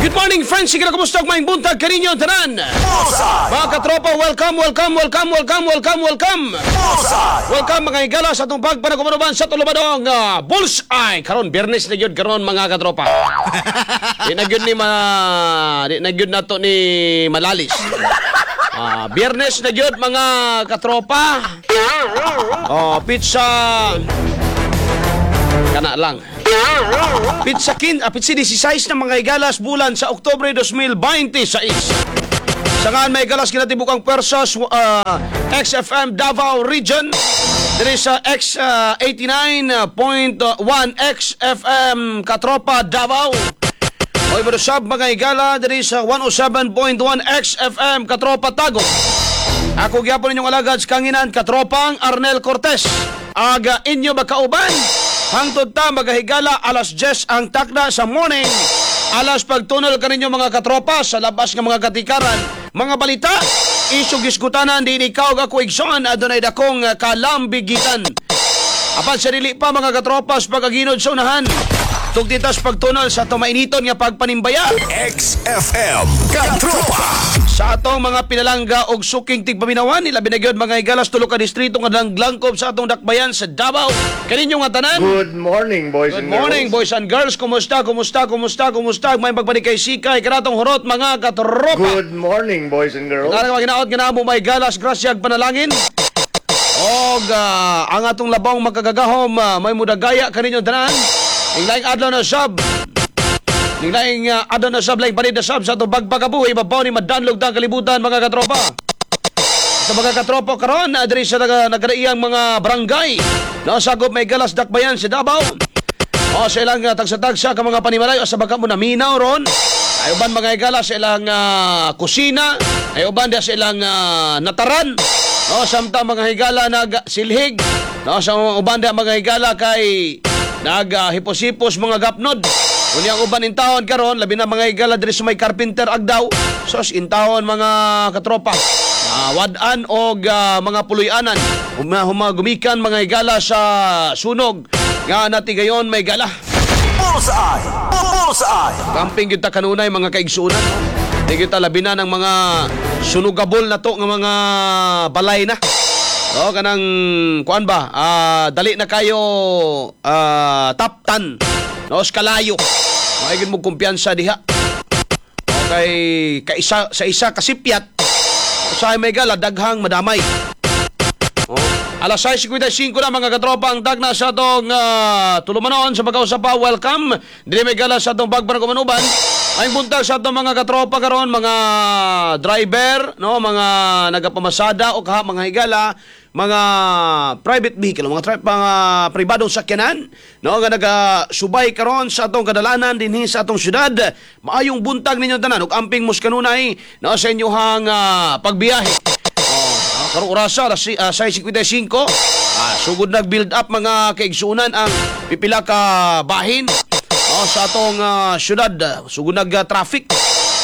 Good morning, friends. Sige na, kumusta? Maayong buntag kaninyo tanan. Bullseye! Mga katropa, welcome, welcome, welcome, welcome, welcome, welcome. Bullseye! Welcome, mga higala, sa atong pagpanagumanuban sa tulumanong Bullseye. Karon Biyernes na gyud karon, mga katropa. Di na gyud nato ni malalis. Biyernes na gyud, mga katropa. Oh, pizza kana lang. Pitsa 16 na, mga higalas, bulan sa Oktubre 2026. Sa ngan may galas kinatibukang persas XFM Davao Region. Diri sa X 89.1 XFM Katropa Davao. Oy sab, mga higala, diri sa 107.1 XFM Katropa Tagum. Ako gyapon ninyong alagad sa kanginan, Katropang Arnel Cortez. Aga inyo makauban hangtod ta magahigala alas 10 ang takna sa morning. Alas pagtunol kaninyo, mga katropa, sa labas nga mga katikaran, mga balita, isyu gisgutanan din ikaw ako igsoon adunay dakong kalambigitan. Apan sa dili pa, mga katropas, pagaginod sa unahan. Tugtitas pagtunol sa tumainiton nga pagpanimbaya XFM Katropa! sa atong mga pinalangga og suking tigpaminawan, ilabi na gyud, mga higalas, tulo ka distrito nga langlangkob sa atong dakbayan sa Davao. Kaninyo nga tanan. Good morning, boys Good and morning, girls. boys and girls. Kumusta, kumusta, kumusta, kumusta? May pagbalik kay Sikay, kanatong hurot, mga katropa. Good morning, boys and girls. Nga ginaot nga namo may galas, grasyag panalangin. Og ang atong labong magkagagahom may mudagaya kaninyo tanan. Ing laing adlaw na sab. Ing laing adlaw na sab, laing panid na sab sa atong bagpagabuhi, babaw ni madanlog ta ang kalibutan, mga katropa. Sa mga katropa karon diri sa nagaraiyang mga barangay. Nasakop may galas dakbayan sa Davao. O sa ilang tagsa-tagsa ka mga panimalay o sa baka mo naminaw ron. Ay uban, mga higala, sa ilang kusina, ay uban sa ilang nataran. No, samtang mga higala nag silhig. No, sa uban da, mga higala, kay naghipos-hipos mga gapnod. Unya ang uban in taon karon, labi na, mga higala, diri sa may Carpenter Agdaw. Sos intawon, mga katropa. Wad-an og mga puloy-anan. Gumikan, mga higala, sa sunog nga natigayon may gala. Bullseye! Bullseye! Camping kita kanunay, mga kaigsunan. Di kita labi na ng mga sunugabol na to nga mga balay na. O kanang kuan ba? Dali na kayo taptan. No, kalayo. Maigin mo kumpiyansa diha. Okay, kaisa sa isa kasipyat. Usahay may gala daghang madamay. Oh. Alas 6:55 na, mga katropa, ang tagna sa atong tulumanon sa pagkausap pa. Welcome. Dili may gala sa atong bagbarang kumanuban. Ay buntag sa atong mga katropa karon, mga driver, no, mga nagapamasada o kaha, mga higala, mga private vehicle, mga pribadong sakyanan, no, nga nagasubay karon sa atong kadalanan dinhi sa atong syudad. Maayong buntag ninyo tanan ug amping mos kanunay, no, sa inyong pagbiyahe. Oh, karong orasa alas 6:55, sugod nag-build up, mga kaigsunan, ang pipila ka bahin, oh, sa atong syudad. Sugod nag traffic.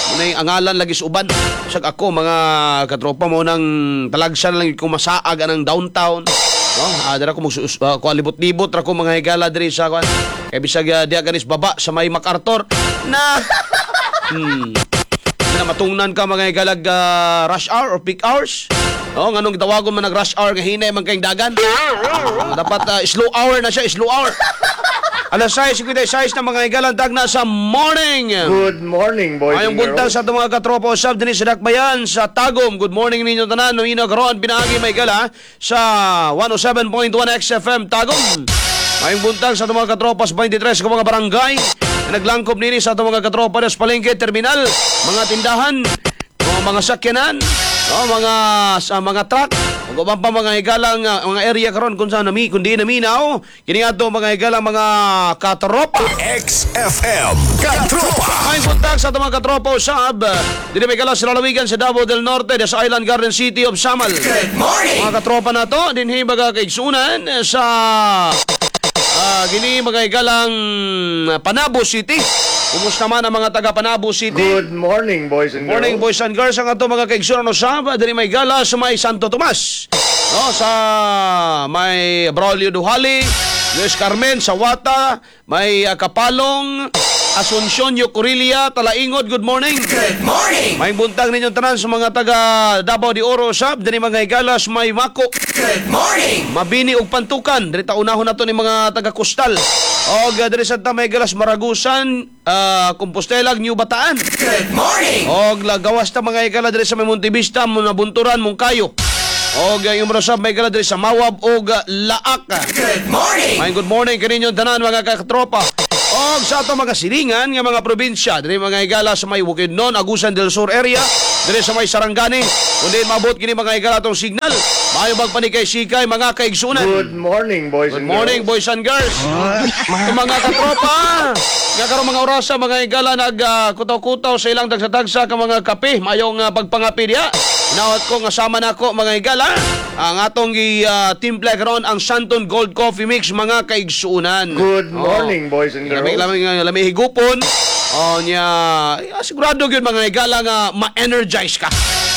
Munay angalan lagi sa uban. Sag ako, mga katropa mo, nang talagsa na lang ko masaag anang downtown. No, dira ko kuan, libot-libot ra ko, mga higala, diri sa kuan. Kay bisag diya ganis baba sa may MacArthur na na matungnan ka, mga higalag, rush hour or peak hours. No, nganong gitawagon man nag rush hour nga hinay man kayong dagan? Dapat slow hour na siya, slow hour. Alas 6:56 na, mga higalang, tagna sa morning. Good morning, boys Ayong and buntag girls. sa atong mga katropa usab dinhi sa Dakbayan sa Tagum. Good morning ninyo tanan. Namina karon pinaagi may gala sa 107.1 XFM Tagum. Ayong buntag sa atong mga katropa sa 23 ka mga barangay na naglangkob nini sa atong mga katropa sa palengke, terminal, mga tindahan, mga sakyanan, o mga sa mga truck, ug uban pa, mga higalang, mga area karon kung saan nami kundi naminaw kini ato, mga higalang, mga katropa. XFM Katropa! May buntag sa atong mga katropa usab. Dili may gala sa lalawigan sa Davao del Norte, sa Island Garden City of Samal. Good morning! Mga katropa na to, dinhi baga kaigsunan sa gini mga higalang Panabo City. Kumusta man ang mga taga Panabo City? Good morning, boys and Morning, girls. boys and girls, ang ato mga kaigsunan usab diri may gala sa may Santo Tomas. No, sa may Braulio Duhali, Luis Carmen, Sawata, may Kapalong, Asuncion, Yocorilia, Talaingod, good morning. Good morning. May buntag ninyong tanan sa mga taga Davao de Oro sab, dinhi mga higalas may Mako. Good morning. Mabini og Pantukan, diri ta unahon nato ni mga taga Kustal. Og diri sa ta may galas Maragusan, Compostela, New Bataan. Good morning. Og lagawas ta mga higala diri sa may Montevista, Nabunturan, Mungkayo. Og yung mga sab may higala diri sa Mawab og Laak. Good morning. May good morning kaninyong tanan mga katropa. Og sa ato mga silingan nga mga probinsya, diri mga higala sa may Bukidnon, Agusan del Sur area, diri sa may Sarangani, kundi mabot kini mga higala atong signal. Maayo bag panikay sikay mga kaigsunan. Good morning, boys Good and morning, girls. boys and girls. Ito mga katropa, nga karong mga orasa mga higala nag kutaw-kutaw sa ilang tagsa-tagsa ka mga kape, mayong pagpangapi diha. Nawat ko nga sama nako mga higala ang atong gi timpla karon ang Santon Gold Coffee Mix mga kaigsuunan. Good morning, boys and girls. Lami lami lami higupon. Oh nya, sigurado gyud mga higala nga ma-energize ka.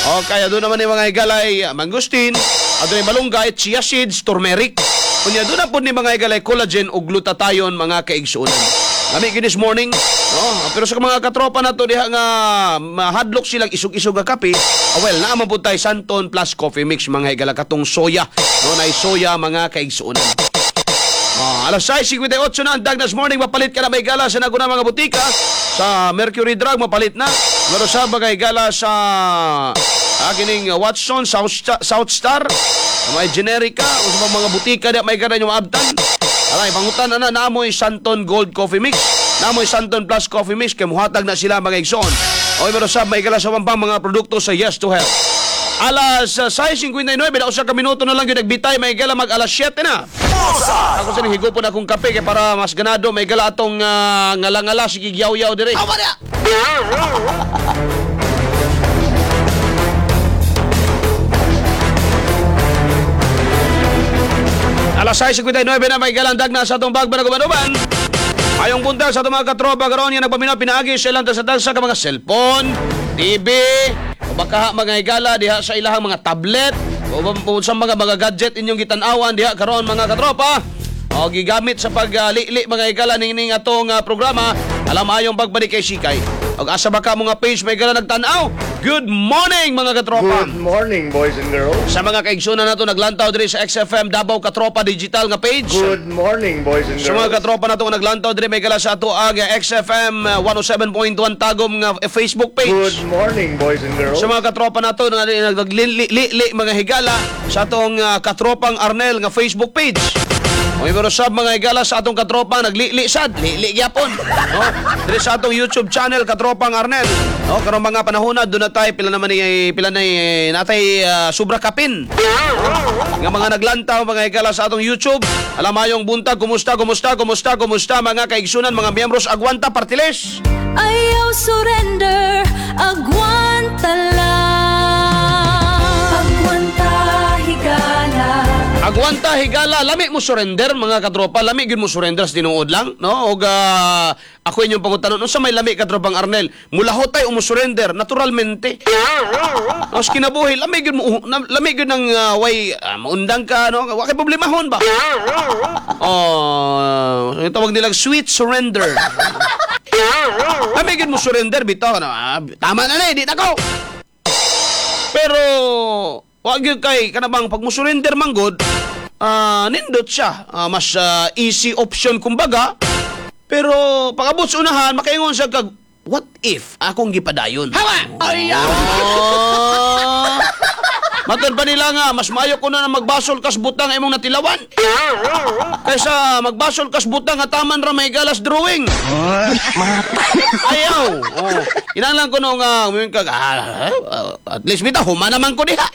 O kaya doon naman yung mga higala ay mangustin, adunay malunggay, chia seeds, turmeric. Unya doon na po ni mga higala ay collagen ug glutathione mga kaigsuonan. Lami gyud this morning. No? Pero sa mga katropa nato diha nga mahadlok silang isog-isog nga kape, well, naa man pud tay Santon Plus Coffee Mix mga higala katong soya. No, nay soya mga kaigsuonan. Alas 6:58 na ang Dagnas Morning. Mapalit ka na may gala sa naguna mga butika. Sa Mercury Drug, mapalit na. Pero sa bagay gala sa kining Watson, South Star, may Generica, o sa mga butika di may gala nyo maabtan. Aray, pangutan na na, naamoy Santon Gold Coffee Mix. Naamoy Santon Plus Coffee Mix, kay muhatag na sila mga igsoon. O pero sa may gala sa pampang mga produkto sa Yes to Health. Alas 6:59, na usa ka minuto na lang yung nagbitay, may gala mag alas 7 na. Bullseye. Ako sa higupon akong kape kay para mas ganado may gala atong ngala-ngala sige yaw-yaw dire. Tama na. Alas 6:59 na may galang dagna sa atong bagba na gumanuban. Ayong buntag sa atong mga katropa karon nga nagpaminaw pinaagi sa ilang tagsa-tagsa ka mga cellphone, TV, o baka mga higala diha sa ilahang mga tablet, o sa mga gadget inyong gitan-awan diha karon mga katropa. O gigamit sa paglili mga higala ning atong programa. Alam ayong pagbalik kay Sikay. Og asa ba ka mga page may gala nagtan-aw? Good morning mga katropa. Good morning, boys and girls. Sa mga kaigsunan nato naglantaw diri sa XFM Davao Katropa Digital nga page. Good morning, boys and Sa mga girls. katropa nato nga naglantaw diri may gala sa ato ang XFM 107.1 Tagum nga Facebook page. Good morning, boys and girls. Sa mga katropa nato nga naglili mga higala sa atong katropang Arnel nga Facebook page. O pero sab mga higala sa atong katropang naglili sad, lili gyapon. No? Diri sa atong YouTube channel Katropang Arnel. No, karong mga panahon na doon na tayo pila naman ni pila na natay sobra kapin. Nga mga naglantaw mga higala sa atong YouTube. Alam ayong buntag, kumusta, kumusta, kumusta, kumusta mga kaigsunan, mga miyembros Agwanta Partiles. Ayaw surrender, agwanta lang. Agwanta, higala. Agwanta higala, lami mo surrender mga katropa, lami gyud mo surrender sa tinuod lang, no? Og ako inyong pangutanon, unsa may lami katropang Arnel? Mulahotay o mo surrender naturalmente. No, sa kinabuhi, lami gyud mo lami gyud ng way maundang ka, no? Wa kay problemahon ba? Oh, yung tawag nilang sweet surrender. Lami gyud mo surrender bitaw, no? Tama na ni, di na ko. Pero wag yun kay kanabang pag mo surrender man gud, nindot siya. Mas easy option kumbaga. Pero pag abot sa unahan, makaingon siya kag what if akong gipadayon? Hawa! Ayaw! Oh. Matod pa nila nga, mas maayo ko na magbasol kas butang imong natilawan. Kaysa magbasol kas butang nga taman ra may galas drawing. Ayaw. Oh. Kinahanglan ko no nga muingon ka, at least bitaw human naman ko diha.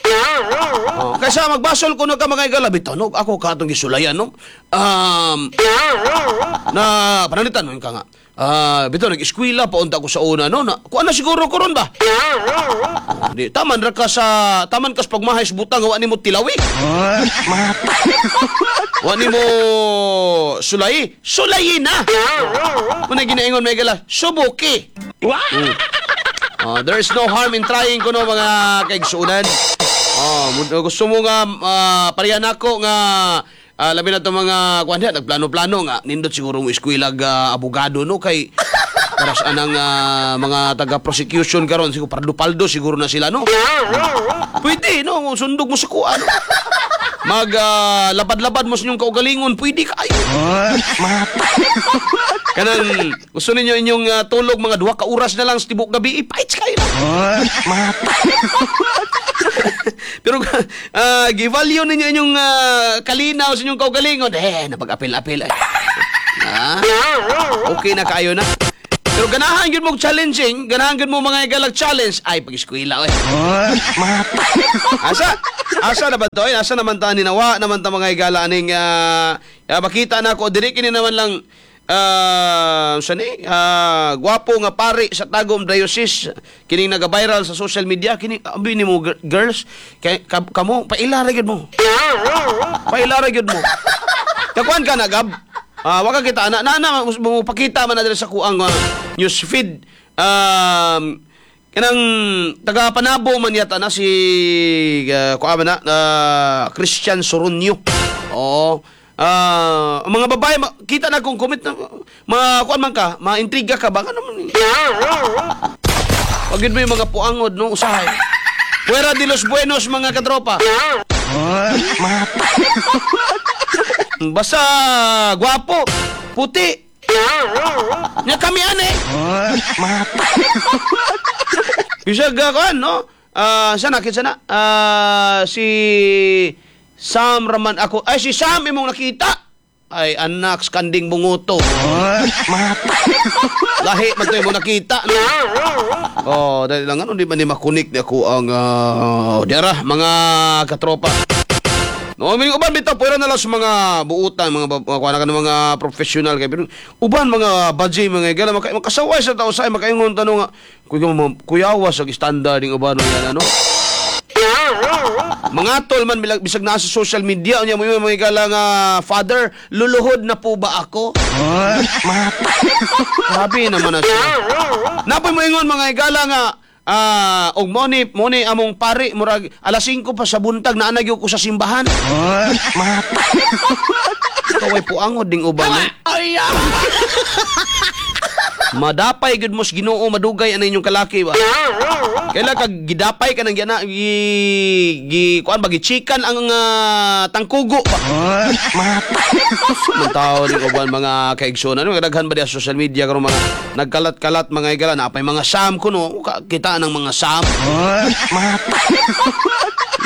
Oh, kaysa magbasol ko no ka mga igala bitaw no ako ka atong gisulayan no. Na pananglitan mo ka nga. Bitaw nag-eskwela pa unta ko sa una no. Na, kuan na siguro ko ron ba? Oh, di taman ra ka sa taman kas pagmahay sa butang wa nimo tilawi. Wa nimo sulay, sulayi na. Muna ginaingon may gala, subuki. Oh, there is no harm in trying kuno mga kaigsuonan. Oh, gusto mo nga pareha nako nga Labi na itong mga kuan diha, nagplano-plano nga nindot siguro mo eskwela abogado, no, kay para sa anang mga taga prosecution karon siguro paldo-paldo siguro na sila, no. Pwede, no, sundog mo sa kuan, no? Mag labad-labad mo sa inyong kaugalingon, pwede kaayo. Kanang gusto ninyo inyong tulog mga 2 ka oras na lang sa tibok gabi, ipaits kayo na. Pero gi-value ninyo inyong kalinaw sa inyong kaugalingon, eh, napag-apil-apil. Eh. Ah, okay na kayo na. Pero ganahan gyud mo challenging, ganahan gyud mo mga igalag challenge, ay pag-eskwela oy. Asa? Asa na ba to? Eh? Asa naman ta ni nawa naman ta, mga igala, aning makita na ako diri kini naman lang sa ni gwapo nga pari sa Tagum Diocese kining naga-viral sa social media kini. Abi nimo, girls kay kamo paila ra gyud mo, paila ra gyud mo. Kakuan ka na, Gab. Wa ka kita na na, na mo pakita man na diri sa kuang news feed. Kanang taga Panabo man yata na si kuan man na Christian Soronio. Oo. Ang mga babae kita na kung comment na mga kuan man ka, ma-intriga ka ba ano man. Wag yun mo yung mga puangod, no, usahay. Fuera de los buenos, mga katropa. Basta gwapo, puti. Nya kami ane. Bisag kuan, no? Sana kita na. Si Sam Raman ako. Ay, si Sam imong nakita. Ay, anak kanding bunguto. Lahi man to imong nakita, no? Oh, dali lang, ano di man ni makunik ni ako ang diara, mga katropa. No, may uban bitaw pwera na lang sa mga buutan, mga mga kuan ka ng mga professional kay pero uban mga budget, mga igala makasaway sa tao sa makaingon tanong nga kuya kuyawa sa standard ning uban yan, ano. Mga tol man bilag bisag naa sa social media unya mo yung mga igala nga, "Father, luluhod na po ba ako?" Grabe naman na siya. Napoy mo ingon, mga igala, nga og mo ni among pari murag alas 5 pa sa buntag naa na gyud ko sa simbahan. Ikaw ay puangod ding uban, no? Madapay gyud mo sa Ginoo, madugay ana inyong kalaki ba. Kaila kag gidapay ka nang gina gi, gi kuan ba, gichikan ang tangkugo ba. Man tao ni uban, mga kaigsoon, ano daghan ba diya sa social media karon mga nagkalat-kalat, mga igala, napay mga Sam kuno kita ng mga Sam.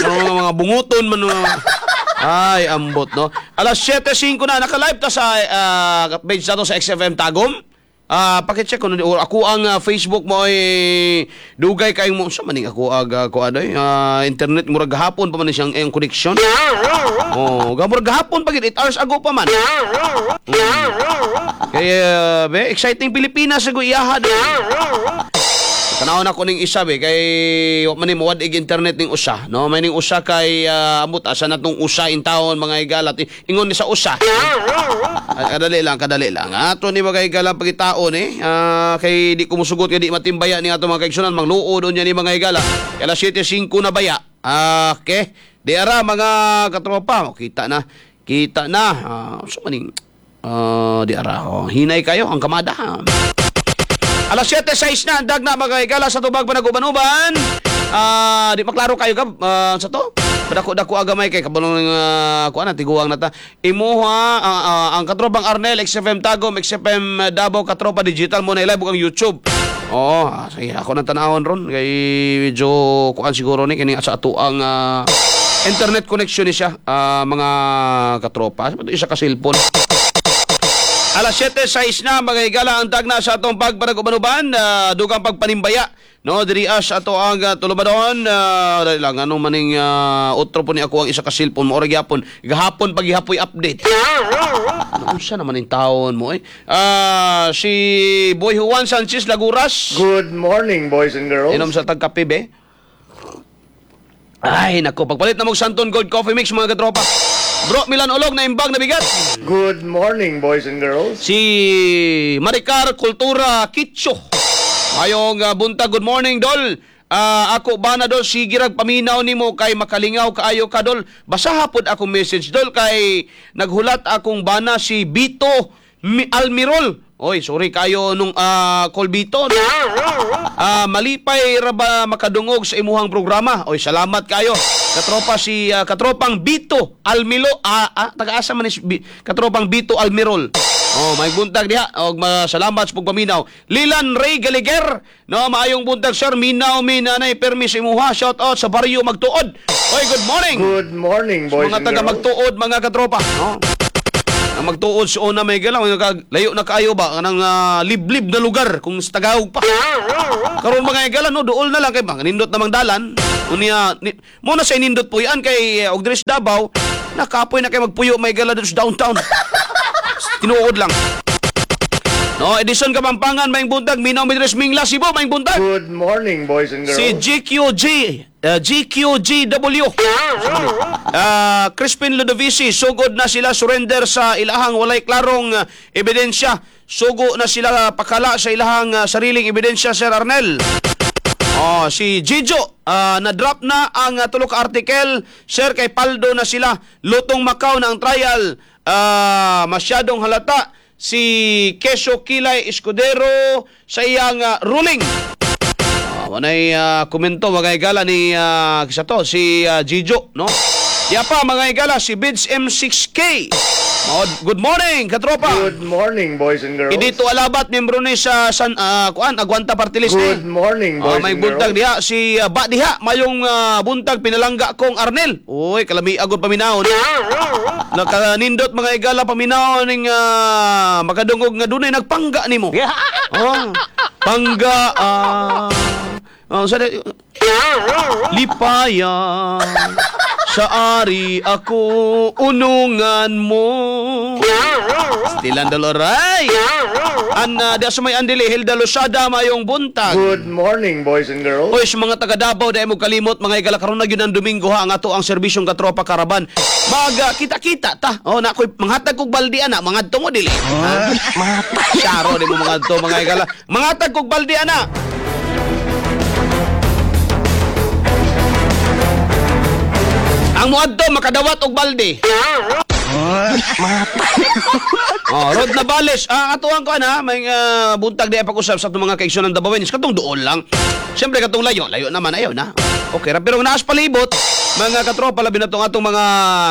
Ano, mga bunguton man, no. Ay, ambot, no. Alas 7:05 na, naka-live ta sa page nato sa XFM Tagum. Paki-check ko ako ang Facebook mo ay dugay kayong mo sa maning ako ag ko ano internet murag gahapon pa man siyang iyang connection. Oh, gamurag gahapon pa gid, 8 hours ago pa man. Kaya be exciting Pilipinas sa iyaha do. Tanawon ako ning isa be kay wa man ni muwad ig internet ning usa, no? May ning usa kay amot asa na tong usa in taon, mga higala, ingon ni sa usa. Ah, kadali lang, kadali lang. Ato ni mga higala pagitaon eh. Kay di ko musugot kay di matimbaya ni ato mga kaigsunan mangluod unya ni, mga higala. Kay alas 7:05 na baya. Okay. Di ara, mga katropa, oh, kita na. Kita na. So maning di ara. Oh, hinay kayo ang kamada. Alas 7:06 na, ang na mga higala sa tubag panaguban-uban. Di maklaro kayo ka sa to. Padako-dako agamay kay kabalo ng kuan na tiguang na ta. Imuha ang katropang Arnel, XFM Tagum, XFM Davao, Katropa Digital mo na live ang YouTube. Oo, sige, ako nang tanawon ron kay medyo kuan siguro ni kini sa ato ang internet connection ni siya, mga katropa. Isa ka cellphone. Alas 7:06 na, mga higala, ang tagna sa atong pagpanag-uban-uban, dugang pagpanimbaya. No, diri as ato ang tulumanon, dali lang anong maning otro po ni ako ang isa ka cellphone mo ora gyapon. Gahapon paghihapoy update. Ano unsa naman yung taon mo eh? Si Boy Juan Sanchez Laguras. Good morning, boys and girls. Inom sa tagkape be. Ay, nako, pagpalit na mo Santon Gold Coffee Mix, mga katropa. Bro Milan Olog na imbag na bigat. Good morning, boys and girls. Si Maricar Kultura Kitso. Mayong buntag, good morning, Dol. Ako ba na, dol, sige rag paminaw nimo kay makalingaw kaayo ka, dol. Basaha pod akong message, dol, kay naghulat akong bana si Bito Almirol. Oy, sorry kayo nung Colbito. No? Malipay ra ba makadungog sa imuhang programa. Oy, salamat kayo. Katropa si katropang Bito Almilo, taga-asa man ni katropang Bito Almirol. Oh, may buntag diha. Og salamat sa pagpaminaw. Lilan Ray Galiger. No, maayong buntag, sir. Minaw mi nanay permi sa imuha. Shout out sa baryo Magtuod. Oy, good morning. Good morning, boys Mga and taga girls. Magtuod, mga katropa. No? Ang Magtuod sa una may galaw, layo na kaayo ba kanang liblib na lugar kung sa Tagalog pa. Karon mga igala, no, duol na lang kay mga nindot namang dalan. Unya ni, mo na sa nindot puyan kay og diri sa Davao, nakapoy na kay magpuyo may gala dito sa downtown. Tinuod lang. No, Edison Kapampangan, maayong buntag, minaw mi diri sa Mingla, Cebu, maayong buntag. Good morning, boys and girls. Si GQG, GQGW. Crispin Ludovici, sugod na sila surrender sa ilahang walay klarong ebidensya. Sugo na sila pakala sa ilahang sariling ebidensya, Sir Arnel. Oh, si Jijo, na-drop na ang tulo ka article, sir, kay paldo na sila. Lutong Macau na ang trial. Masyadong halata si Keso Kilay Escudero sa iyang ruling. Wanay komento mga igala ni kisa to si Jijo, no? Ya pa mga igala si Bids M6K. Oh, good morning, katropa. Good morning, boys and girls. Idito Alabat, membro ni sa San kuan Aguanta Party List Good ni. morning, boys May and buntag girls. diha si Ba diha mayong buntag pinalangga kong Arnel. Uy, kalami agod paminawon. Nakanindot mga igala paminawon ning makadungog nga dunay nagpangga nimo. Oh, pangga oh, sa lipaya sa ari ako unungan mo. Stilan Doloray. An di sa may andili Hilda Losada, mayong buntag. Good morning, boys and girls. Oy, sa mga taga Davao, dahil mo kalimot mga igala, karon na gyud ang Domingo ha, ang ato ang serbisyong katropa karaban. Mag kita-kita ta. Oh, na koy manghatag kog baldi ana, mangadto mo dili. Ha? Syaro di mo mangadto mga igala. Manghatag kog baldi ana. Ang muadto makadawat og balde. Oh, Rod Navales, atuan ko ana, may buntag di pag-usap sa atong mga kaigsoon ng Dabawenyo. Katong duol lang. Siyempre katong layo, layo naman ayaw na. Okay ra pero naas palibot, mga katropa, labi na tong atong mga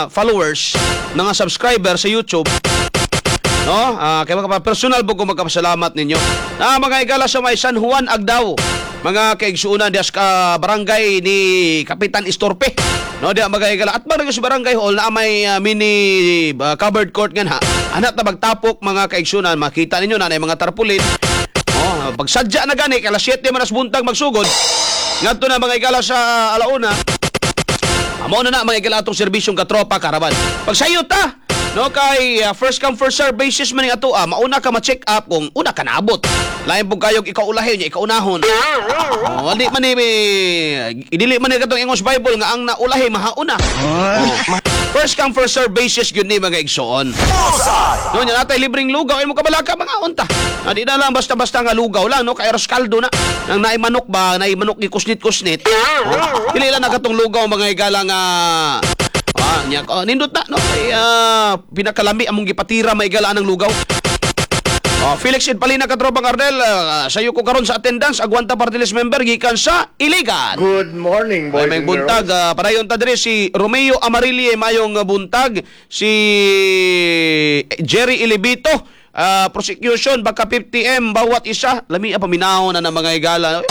followers, mga subscriber sa YouTube. No? Kaya mga personal po ko magkapasalamat ninyo. Mga igala sa may San Juan Agdao. Mga kaigsuonan dias ka barangay ni Kapitan Istorpe. No, diya mga igala at barangay sa barangay hall na may mini covered court nga na. Anak ta magtapok mga kaigsuonan, makita ninyo na mga tarpaulin. Oh, pagsadya na gani kay alas 7 man as buntag magsugod. Ngadto na mga igala sa alauna. Amo na na mga igala atong serbisyong katropa karaban. Pagsayo ta, no, kay first come first serve basis man ni ato mauna ka ma-check up kung una ka naabot. Lain pud kayog ikaw ulahin nya ikaw unahon. Oh, di man ni idili man ni katong ingon sa Bible nga ang naulahi mahauna. Oh. First come first serve basis gyud ni mga igsoon. Bullseye! No, nya natay libreng lugaw ay mo kabalaka mga unta. Na di na lang basta-basta nga lugaw lang, no, kay arroz kaldo na. Nang naay manok ba, naay manok gikusnit-kusnit. Oh, dili lang na katong lugaw mga igala nga nya oh, nindot na, no, kay pinakalami among gipatira maigala ang lugaw. Oh, Felix Edpalina, katropang Ardel, sayo ko karon sa attendance, Aguanta Party List member gikan sa Iligan. Good morning, Ay, boys may and buntag, girls. Padayon ta diri si Romeo Amarille, mayong buntag, si Jerry Ilibito, prosecution baka 50M bawat isa. Lami paminaw na ng mga igala.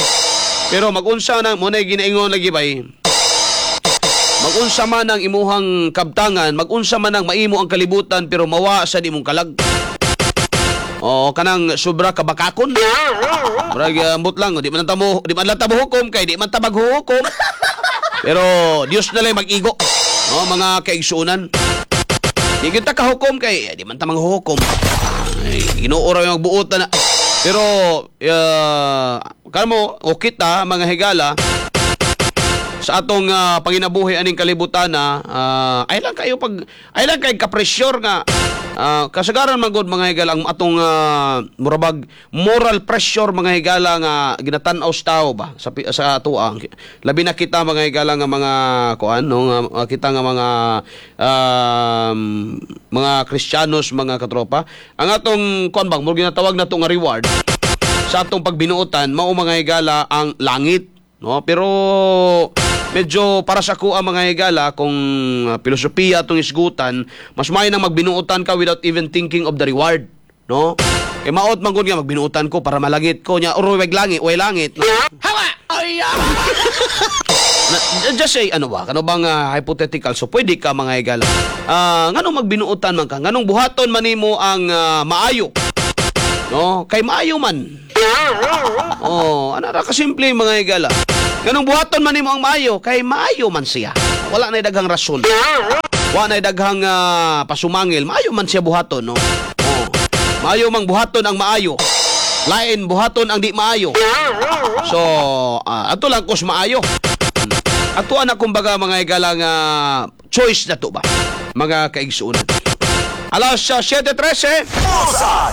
Pero magunsa na mo na ginaingon lagi bay. Magunsa man ang imuhang kabtangan, magunsa man ang maimo ang kalibutan pero mawa sa imong kalag. O kanang sobra kabakakon. Murag ambot lang, di man lang ta hukom kay di man ta maghuhukom. Pero Dios na lang mag-igo. No, mga kaigsuonan. Di kita kahukom kay di man ta manghuhukom. Ay, Ginoo ra yung magbuot na. Pero kamo o kita mga higala sa atong panginabuhi aning kalibutan na ay lang kayo pag ay lang kay ka-pressure nga Kasagaran man gud, mga higala, ang atong murabag moral pressure, mga higala, nga ginatan-aw sa tao ba sa atoa, labi na kita, mga higala, nga mga kuan, no, nga kita nga mga Kristiyanos, mga katropa, ang atong kuan bang murag ginatawag nato nga reward sa atong pagbinuotan mao, mga higala, ang langit, no? Pero medyo para sa kuha, mga higala, kung filosofiya atong isgutan, mas maayo nang magbinuotan ka without even thinking of the reward, no? Kay maot man gud nga magbinuotan ko para malangit ko nya or way langit, way langit, no? Na, just say ano ba, kano bang hypothetical, so pwede ka, mga higala, nganong magbinuotan man ka, nganong buhaton man nimo ang maayo, no? Kay maayo man. Oh, ano ra kasimple, mga higala. Nganong buhaton man nimo ang maayo? Kay maayo man siya. Wala na daghang rason. Wala na daghang pasumangil. Maayo man siya buhaton, no? Oh. Maayo mang buhaton ang maayo. Lain buhaton ang di maayo. So, ato lang kus maayo. Ato na kumbaga, mga higala, nga choice na to ba? Mga kaigsuonan. Alas 7:13.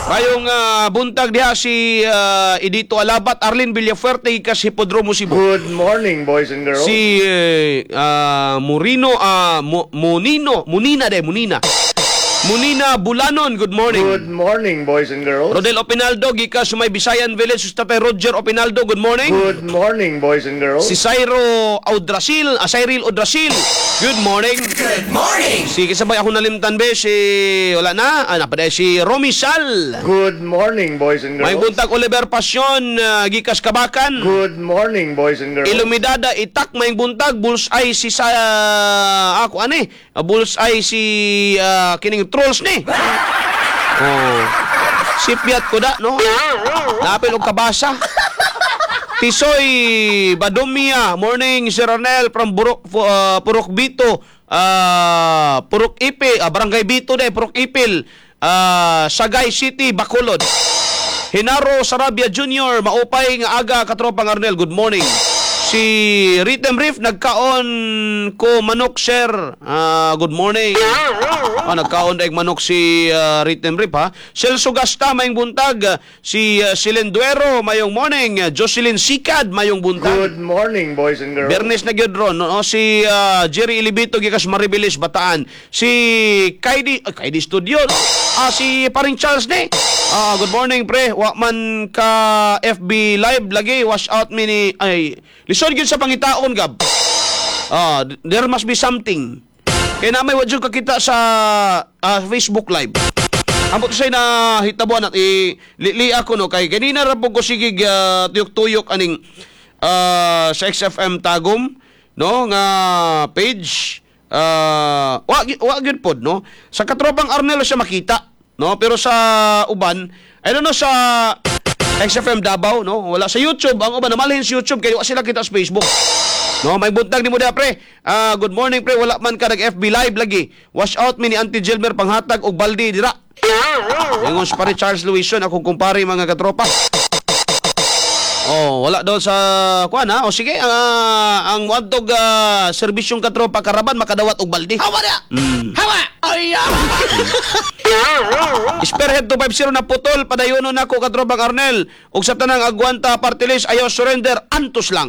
Mayong buntag diha si Edito Alabat, Arlene Villafuerte, gikas Hipodromo Cebu. Good morning, boys and girls. Si Murino Munino, Munina de Munina. Munina Bulanon, good morning. Good morning, boys and girls. Rodel Opinaldo gikas may Bisayan Village, si Tatay Roger Opinaldo, good morning. Good morning, boys and girls. Si Cyro Audrasil, Cyril Audrasil, good morning. Good morning. Si kasabay ako nalimtan be si wala na, napaday si Romy Sal. Good morning, boys and May girls. buntag Oliver Pasyon, gikas Kabakan. Good morning, boys and girls. Ilumidada itak, may buntag. Bullseye si sa ako ani, bullseye si kining trolls ni. Oh. Sipyat ko da, no? Napil og kabasa. Tisoy Badomia, morning Sir Arnel from Burok, Purok Bito, Purok Ipi, Barangay Bito de, Purok Ipil, Sagay City, Bacolod. Hinaro Sarabia Jr., maupay nga aga katropang Arnel, good morning. Si Rhythm Riff, nagkaon ko manok, sir. Good morning. Nagkaon daig manok si Rhythm Riff ha. Celso Gasta, mayong buntag. Si Silenduero, mayong morning. Jocelyn Sikad, mayong buntag. Good morning, boys and girls. Bernes na gyud ron, no? Si Jerry Ilibito gikas Maribilis, Bataan. Si Kaidi, Kaidi Studio, no? Si paring Charles ni. Good morning, pre. Wa man ka FB live lagi. Wash out mi ni ay lisod gyud sa pangitaon gab. There must be something. Kay na may wa jud kakita sa Facebook Live. Ambot say na hitabuan at i li, ako, no, kay ganina ra po ko sige tuyok-tuyok aning sa XFM Tagum, no, nga page, wa gyud pod, no? Sa katropang Arnel siya makita, no? Pero sa uban, I don't know, sa XFM Davao, no, wala sa YouTube. Ang uban namalhin sa YouTube kay wa sila kita sa Facebook, no? May buntag ni mo diha, pre. Good morning, pre, wala man ka nag FB Live lagi. Wash out mi ni Auntie Gilmer, panghatag og baldi dira. Ingon si pare Charles Luison, akong kumpare, mga katropa. Oh, wala daw sa kuan ha. O sige, ang wadtog serbisyong katropa karaban makadawat og baldi. Hawa na! Hawa! Ay! Spearhead 250 na putol padayono nako katropang Arnel ug sa tanang Agwanta party list, ayaw surrender, antos lang.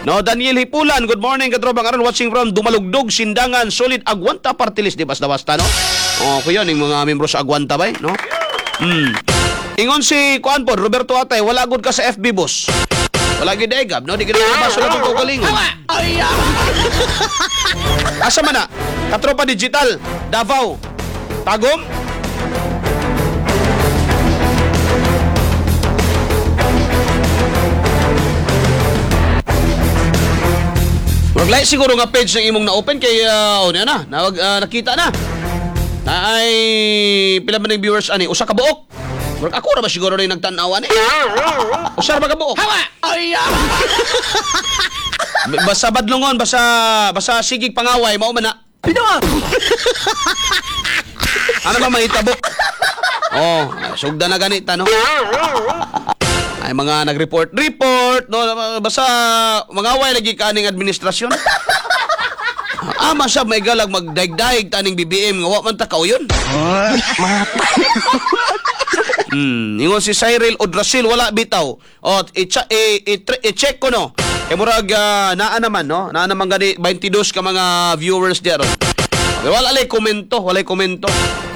No, Daniel Hipulan, good morning katropang Arnel, watching from Dumalugdog, Sindangan, solid Agwanta party list, di basta basta, no? Oh, kuya ning mga membro sa Agwanta bay, no? Ingon si kuan po, Roberto Atay, wala gud ka sa FB, boss. Wala gid ay gab, no? Di gid ka sa atong kaugalingon. Ay! Asa man na? Katropa Digital, Davao. Tagum? Murag lahi siguro nga page ng imong na-open kay oh, na, na, nakita na. Na ay pila man ning viewers ani? Usa ka buok. Murag ako ra ba siguro rin nagtan-aw ani? Usa ra ba ka buok? Hawa! Ay! Basta badlongon, basta basta sigig pangaway mao man na. Pino! Ano ba mahitabo? Oh, sugda na ganita, no? Ay mga nag-report, report, no, basta mangaway lagi ka aning administrasyon. Ama sa may galag magdaigdaig taning BBM nga wa man ta kauyon. Ingon si Cyril Odrasil, wala bitaw. O i-check ko, no. Kay murag naa naman, no. Naa naman gani 22 ka mga viewers diya ron. Okay, wala lay komento, walay komento.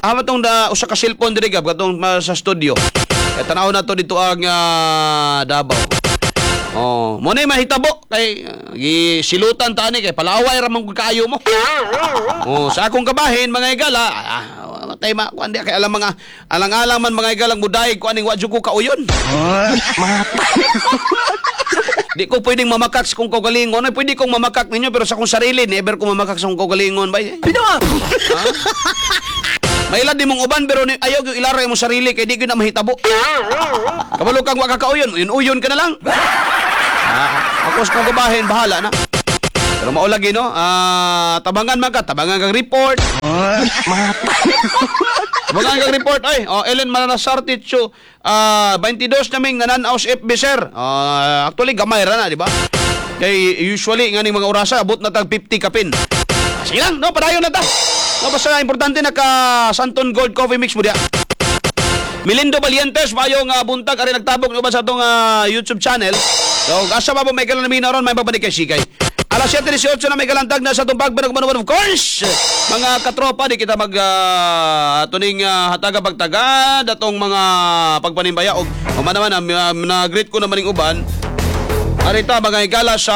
Ama tong da usa ka cellphone diri, gab katong sa studio. Eh, tanaw na to dito ang Davao. Oh, mo na mahitabo kay gisilutan ta ani kay palaway ra man gud kaayo mo. Oh, sa akong kabahin, mga higala, matay ma kuan di kay alam mga alang-alang man, mga higalang mudaig ko aning wa jud ko kauyon. Di ko pwedeng mamakak sa kong kaugalingon. Ay, pwede kong mamakak ninyo pero sa akong sarili, never ko mamakak sa akong kaugalingon ba? Bitaw! Mailad di mong uban pero ayaw yung ilara imong sarili kay di gyud na mahitabo. Kabalo kang wa ka kauyon, uyon-uyon ka na lang. Ako sa kong kabahin, bahala na. Pero mao lagi, no, tabangan man ka, tabangan kang report. Tabangan kang report ay. Oh, Ellen Maranasar Ticho, 22 naming nananaw sa FB, sir. Actually gamay ra na, di ba? Kay usually nga ning mga orasa abot na tag 50 kapin. Sige lang, no, padayon na ta. No, basta importante naka Santon Gold Coffee Mix mo diya. Melindo Valientes, maayong buntag, ari nagtabok uban sa atong YouTube channel. So, asa pa po may kalan namin ron, may babalik kay Sikay. Alas 7:18 na may kalantag na sa atong pagbanag, of course. Mga katropa, di kita mag tuning hataga pagtagad atong mga pagpanimbaya og man naman na-greet ko naman ning uban. Arita mga higala sa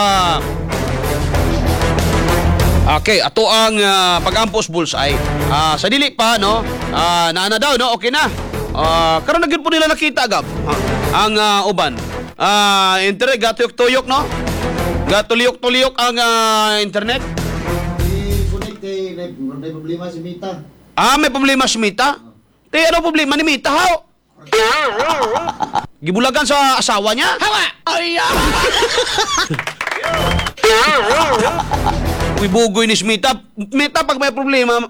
Okay, ato ang pag-ampos bullseye. Sa dili pa, no? Naana daw, no? Okay na. Karon na gyud po nila nakita, Gab. Ang uban. Internet gatuyok-tuyok, no? Gatuliyok-tuliyok ang internet. I-connect kay may problema si Mita. Ah, may problema si Mita? Te, ano problema ni Mita, how? Gibulagan sa asawa niya? Hawa! Ay! Uy, bugoy ni Mita. Meta, pag may problema,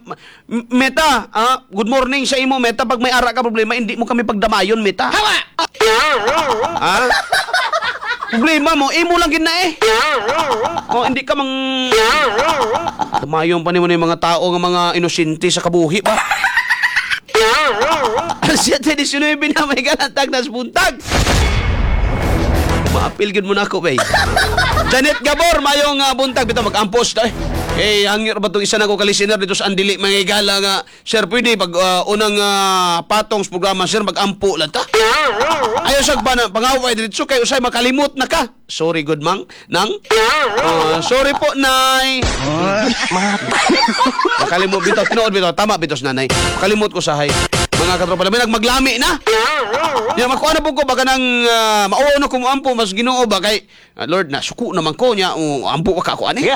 Meta, good morning sa imo, Meta. Pag may ara ka problema, hindi mo kami pagdamayon, Meta. Hawa! Ha? Problema mo, imo lang gid na eh. Oh, hindi ka mang damayon pa nimo ni mga tao nga mga inosente sa kabuhi ba? 7:19 na may galantag na buntag. Maapil gid mo na ako, bay. Janet Gabor, mayong buntag bitaw mag-ampos ta eh. Eh, hangyo ba itong isa na ko ka-listener dito sa Andili, mga higala nga, sir, pwede pag unang patong sa programa, sir, mag-ampo lang ta. Ayaw sa ba na pangaway dito kay usay makalimot na ka. Sorry, good mang. Nang? Sorry po, nay. Makalimot bitaw, tinuod bitaw, tama bitaw sa nanay. Makalimot ko sahay. Mga katropa, labi nagmaglami na. Ya makuha na po ko baka nang mauo na ko mo ampo mas Ginoo ba kay Lord na suko naman ko niya o ampo ka ako ani.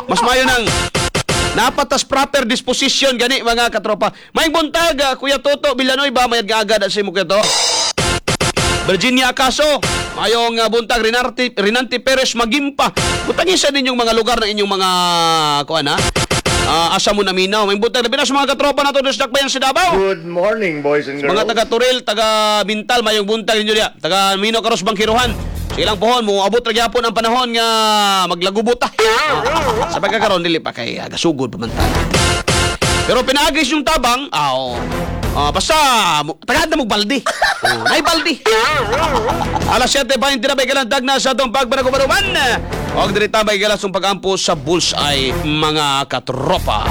Mas mayo nang napatas proper disposition gani, mga katropa. May buntag, Kuya Toto Villanueva, mayad nga agad sa imo, Kuya To. Virginia Acaso, mayong buntag. Rinarte, Rinante Perez Magimpa. Butangin sa ninyong mga lugar ng inyong mga kuan ha. Asa mo naminaw. May buntag labi na sa mga katropa nato sa Dakbayan sa Davao. Good morning, boys and girls. Mga taga Turil, taga Bintal, mayong buntag ninyo diya. Taga Mino Karos Bangkiruhan. Sige lang pohon, mo abot ra gyapon ang panahon nga maglagubot ta. Sa pagkakaroon dili pa kay gasugod pa man ta. Pero pinaagis yung tabang, oo. Basta tagad na mo balde. Oh, nay balde. Alas 7:20 na may galandag na sa atong pagbanagubaruman. Og diri ta may galas pag-ampo sa bullseye, mga katropa.